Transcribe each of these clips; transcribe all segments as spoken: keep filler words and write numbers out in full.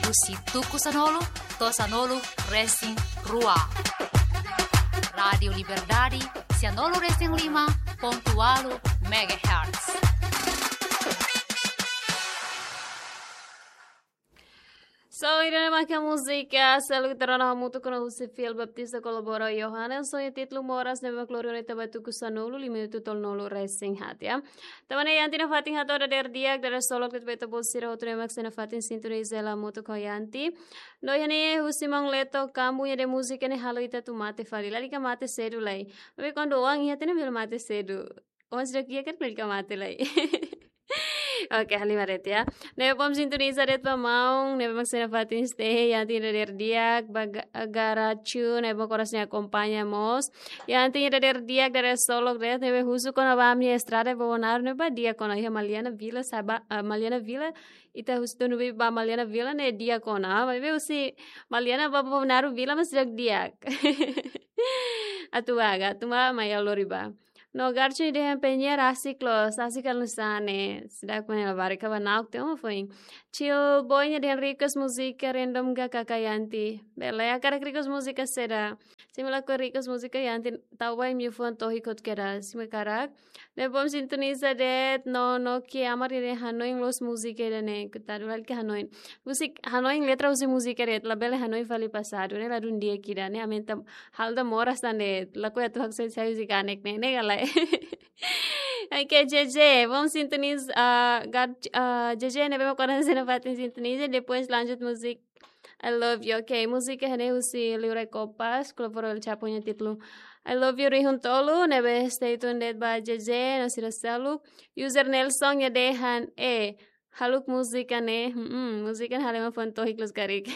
husi tuku sanulu to'o sanulu resin rua. Rádiu Liberdade, sanulu resin lima pontu ualu megahertz. So, ida-ne'e mak múzika seluk ita rona hamutuk ona husi Fiel Baptista kolabora Johannes, ho nia títulu Moras, ne'ebé mak lori ona ita ba tuku sanulu, lima minutu tolunulu resin haat, ya. Tanba ne'e, iha ita-nia fatin hato'o dadeer di'ak, dadeer solok de'it ba ita-boot sira hotu ne'ebé mak sei nafatin sintoniza hela hamutuk ho iha ita. No iha ne'e husi maun Leto Kambu nia dehan múzika ne'e halo ita atu mate fali. Lalika mate sedu lai. Maibé kuandu oan iha tiha ne'e bele mate sedu. Oan seidauk iha karik lalika mate lai. Oke, halimar de'it, ya. Ne'ebé bom sintoniza de'it ba maun ne'ebé mak sei nafatin stay iha ita dadeer di'ak, ba Ga-, Garachu, ne'ebé mak oras ne'e akompaña mós. Iha ita dadeer di'ak, dadeer solok de'it, ne'ebé husu kona-ba ami-nia estrada ba Bonaru ne'e ba di'ak ona, iha Maliana Vila, sá ba, ah, Maliana Vila, ita husu tunu ba Maliana Vila ne'e di'ak ona. Maibé husi Maliana ba Bonaru Vila mak seidauk di'ak. Atu aga, atu mai, mai lori ba. No Garachu dehan penyiar asik loos, asik halo nu'usá ne'e. Seidauk, mane, labarik ha'u ba na'ok tiha uma foin. Chill Boy nia dehan request múzika random ga kaka iha ita. Bele, hakarak request múzika saida? Se imi lakohi request múzika iha ita, tau ba imi-nia fuan tohik hotu kedas, se imi hakarak. Ne'ebé bom sintoniza de'it, no, no ke amar ida hanoin loos múzika ida-ne'e, kutadu lalika hanoin. Múzika, hanoin letra husi múzika de'it, labele hanoin fali pasadu, ne'e ladún di'ak ida, ne'e aumenta halo ita moras tan de'it, lakohi atu haksoit sai husi kanek ne'e, ne'e ka lae. Oke, J J, bom sintoniza, ah, Gar-, ah, J J ne'ebé mak oras ne'e sei nafatin sintoniza, depois lanjut múzika I Love You. Oke, múzika ne'e husi Liurai Kopas, kolabora El Chapo nia títulu I Love You rihun tolu, ne'ebé stay tuned de'it ba J J, no sira seluk. User Nelson nia dehan, eh, haluha múzika ne'e, hmm, múzika ne'e halo ema fuan tohik loos karik.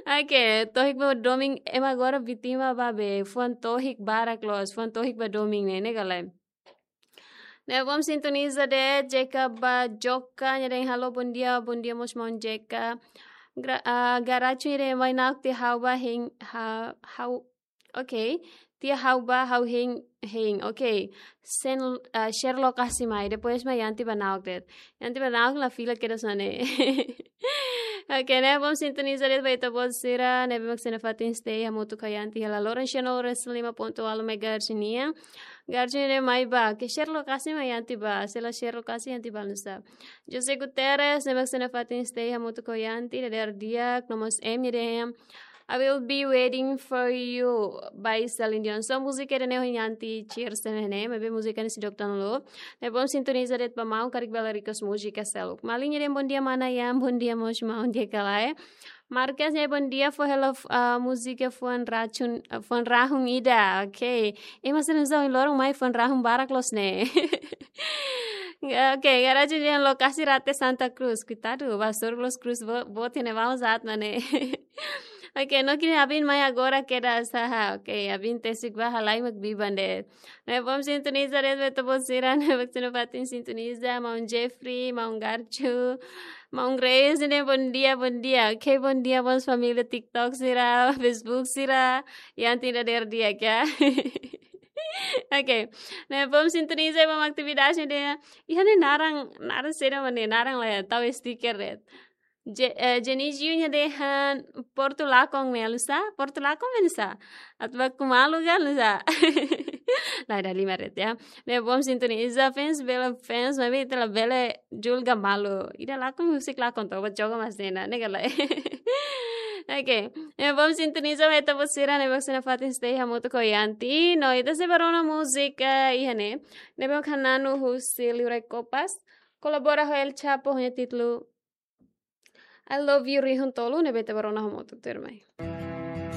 Oke, tohik ba domin, ema agora vítima ba be, fuan tohik barak loos, fuan tohik ba domin ne'e, ne'e ka lae. Ne'ebé bom sintoniza de'it, J K ba Joka, nia dehan halo, bom dia, bom dia mós maun J K. Gra-, ah, Garachu nia dehan mai na'ok tiha ha'u ba hein, ha-, ha'u, oke. Tiha ha'u ba ha'u hein, hein, oke. Sen, ah, share lokasi mai, depois mai iha ita ba na'ok de'it. Iha ita ba na'ok la fila kedas ona ne'e. Oke, ne'ebé bom sintoniza de'it ba ita-boot sira ne'ebé mak sei nafatin stay hamutuk ho iha ita hela loron sanulu resin lima pontu ualu megahertz nian. Garachu nia dehan mai ba, ke share lokasi mai iha ita ba, se la share lokasi iha ita ba nu'usá. José Guterres, ne'ebé mak sei nafatin stay hamutuk ho iha ita, dadeer di'ak, no mós M nia dehan, I will be waiting for you by Celine Dion. So múzika ida-ne'e ho iha ita, Cheers ne'e, maibé múzika ne'e seidauk download. Ne'ebé bom sintoniza de'it ba maun, karik bele request múzika seluk. Malin nia dehan bom dia mana Ian, bom dia mós maun J K lae. Marques nia dehan bom dia, fó hela, ah, múzika fuan rachun, ah, fuan rahun ida. Oke. Ema sira nu'usá ohin loron mai fuan rahun barak loos ne'e. Oke, Garachu dehan lokasi rate Santa Cruz. Koitadu, ba sorgo loos, Cruz bo-, boot ne'e vamos at mane. Oke, no ke Abin mai agora kedas, haha. Oke, Abin tesik ba halai mak biban de'it. Ne'ebé bom sintoniza de'it ba ita-boot sira ne'ebé mak sei nafatin sintoniza, maun Jeffrey, maun Garachu, maun Grace, nia dehan bom dia, bom dia. Oke, bom dia mós família TikTok sira, Facebook sira, iha ita dadeer di'ak, ya. Oke, ne'ebé bom sintoniza ba maun atividade de'it. Iha ne'e naran, naran saida mane, naran la iha, tau sticker de'it. Je-, eh, Jenny Jiu nia dehan Portu Lakon ne'e nu'usá, Portu Lakon ne'e nu'usá. Atu ba ku malu ka nu'usá. Lae, dala ruma de'it, ya. Ne'ebé bom sintoniza, fans bele fans, maibé ita labele julga malu. Ida lakon, husik lakon, toba joga mas dena, ne'e ka lae. Oke. Ne'ebé bom sintoniza ba ita-boot sira ne'ebé mak sei nafatin stay hamutuk ho iha ita. No ita sei bá rona múzika iha ne'e. Ne'ebé mak hananu husi Liurai Kopas. Kolabora ho El Chapo, ho nia títulu I Love You rihun tolu, ne'ebé ita bá rona hamutuk tuirmai.